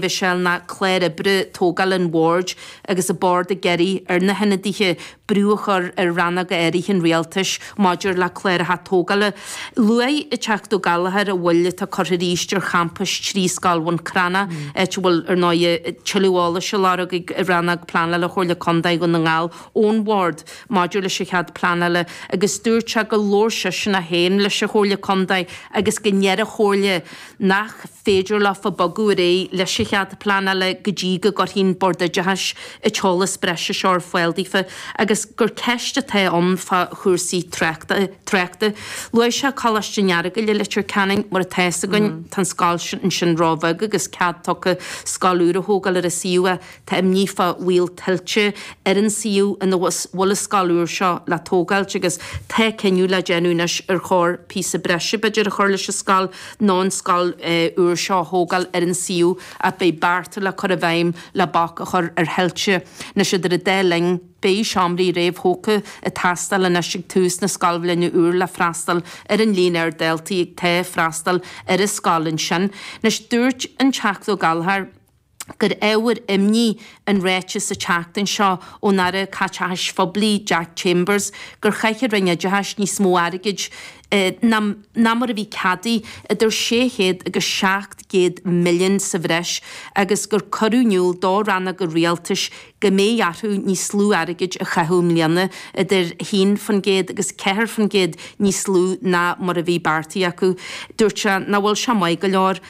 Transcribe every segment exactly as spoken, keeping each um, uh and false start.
Mhichelle ná clár oibre tógáil an bhoird agus an bord ag iarraidh ar na hionadaithe brú a chur ar rannóga áirithe an rialtais maidir le cláracha tógála. Luaigh an Teachta Ó Gallchóir an mhoill atá curtha arís ar champais trí scoil Bhun Cranncha, áit a bhfuil ar ndóigh tuilleadh eolais á lorg ag rannóg pleanála Chomhairle Contae Dhún na nGall ón bhord maidir leis an chead pleanála agus dúirt sé gur labhair seisean é féin leis an Chomhairle Contae agus go ndeir an Chomhairle nach féidir leofa bogadh ar aghaidh leis an chead pleanála go dtí go gcuirfidh an Bord Oideachais an t-eolas breise seo ar fáil daofa agus gur ceist atá ann fá chúrsaí tráchta tráchta. Luaigh sé Coláiste an Earagail i Leitir Ceanainn mar atá a fhios againn tá an scoil ansin róbheag agus cead tugtha scoil úr a thógáil ar an suíomh tá imní fá bhaol tuilte ar an suíomh ina bhfuil an scoil úr seo le tógáilt agus tá cinneadh le déanamh anois ar chóir píosa breise b'fhéidir a chur leis an scoil nó an scoil úr seo a thógáil ar an suíomh ach beidh bearta le cur i bhfeidhm le bac a chur ar thuilte. Anois idir an dá linn beidh seomraí réamhthógtha ag teastáil anois ag tús na scoilbhliana úr le freastal ar an líon ard daltaí atá ag freastal ar an scoil ansin. Anois dúirt an Teachta Ó Gallchóir gur ábhar imní an ráiteas an tseachtain seo ón Aire Caiteachais Phoiblí Jack Chambers gur chaith an Roinn Oideachais níos mó airgid ná ná mar a bhí ceadaithe idir sé chéad agus seacht gcéad milliún sa bhreis agus gur cuireadh in iúl do rannóga rialtais go mbeidh orthu níos lú airgid a chaitheamh i mbliana idir haon faoin gcéad agus ceathair faoin gcéad níos lú ná mar a bhí beartaithe acu. Dúirt sé nach bhfuil sé maith go leor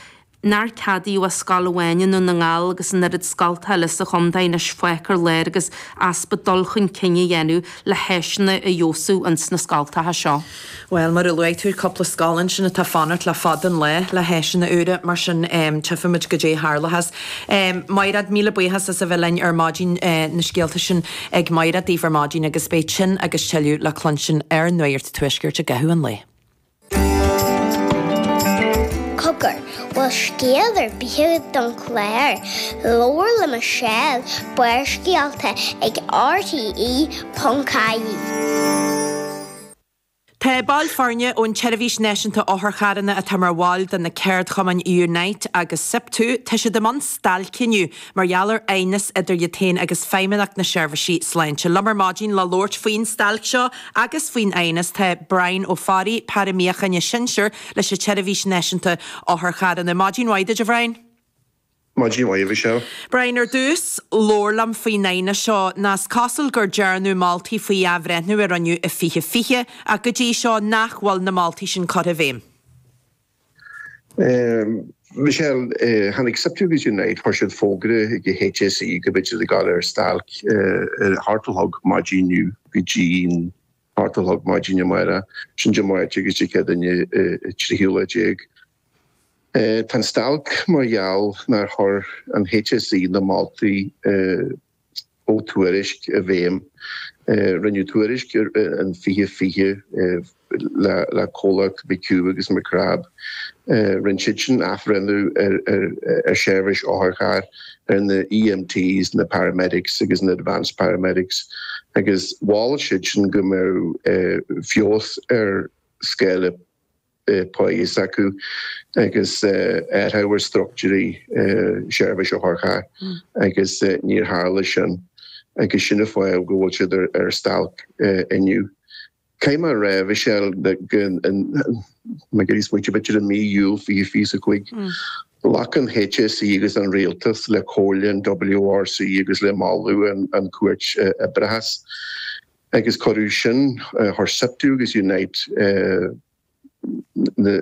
nár ceadaíodh ach scoil amháin i nDún na nGall agus an oiread scoltacha eile sa chontae anois fágtha ar lár agus easpa dul chun cinn a dhéanamh le háiseanna a fheabhsú ins na scoltacha seo. Bhuel, mar a luaigh tú, cúpla scoil ansin atá ag fanacht le fada an lá le háiseanna úra, mar sin tchífimid goidé a tharlóchas. Mairéad, míle buíochas as a bheith linn ar maidin, na scéalta sin ag Mairéad daoibh ar maidin agus beidh sin agus tuilleadh le cluinstin ar Nuacht an Tuaiscirt i gcaitheamh an lae. Cogar, bhfuil scéal ar bith agat don chlár? Labhair le Michelle, Barrscéalta ag RTE ponc ie. Tá baill foirne ón tSeirbhís Náisiúnta Otharcharranna atá mar bhaill de na ceardchumainn Unite agus SIPTU, tá siad i mbun stailce inniu mar gheall ar aighneas idir iad féin agus Feidhmeannacht na Seirbhísí Sláinte. Liom ar maidin le labhairt faoin stailc seo agus faoin aighneas tá Brian Ó Fearraigh, Fear Míochaine Sinsir leis an tSeirbhís Náisiúnta Otharcharranna. Maidin mhaith duit, a Bhrian. Maidin mhaith, a Mhichelle. Brian, ar dtús, labhair liom faoin aighneas seo. Nó is cosúil gur dearnadh moltaí faoi athbhreithniú a rinneadh i fiche fiche ach go dtí seo nach bhfuil na moltaí sin curtha i bhfeidhm. Michelle, tháinig SIPTU agus Unite, chuir siad fógra ag an HSE go mbeidh siad ag dul ar stailc ar a hocht a chlog maidin inniu go dtí an hocht a chlog maidin amárach, sin Dé Máirt agus Dé Céadaoine an tríú lá déag. Tá an stailc mar gheall nár chuir an HSE na moltaí ó tuairisc i bhfeidhm. Rinneadh tuairisc in fiche fiche le comhlacht McHugh agus McCrabb. Rinne siad sin athbhreithniú ar sheirbhís otharchairr, ar na EMTs, na paramedics agus na advanced paramedics agus mhol siad sin go mbeadh feabhas ar scála páí s'acu agus athrú ar struchtúirí seirbhís otharchairr agus níor tharla sin agus sin an fáth go bhfuil siad ar stailc inniu. Caithfidh mé a rá, Michelle, go mbeidh smaointe b'fhéidir i mí Iúil fiche fiche a cúig, ghlac an HSE agus an Rialtas le comhairle an WRC agus le moladh an Chúirt Oibreachais agus cuireadh sin, chuir SIPTU agus Unite, na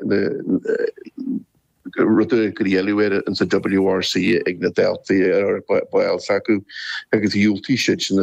rudaí a éileamh air insa WRC ag na daltaí ar baill s'acu agus dhiúltaigh siad sin.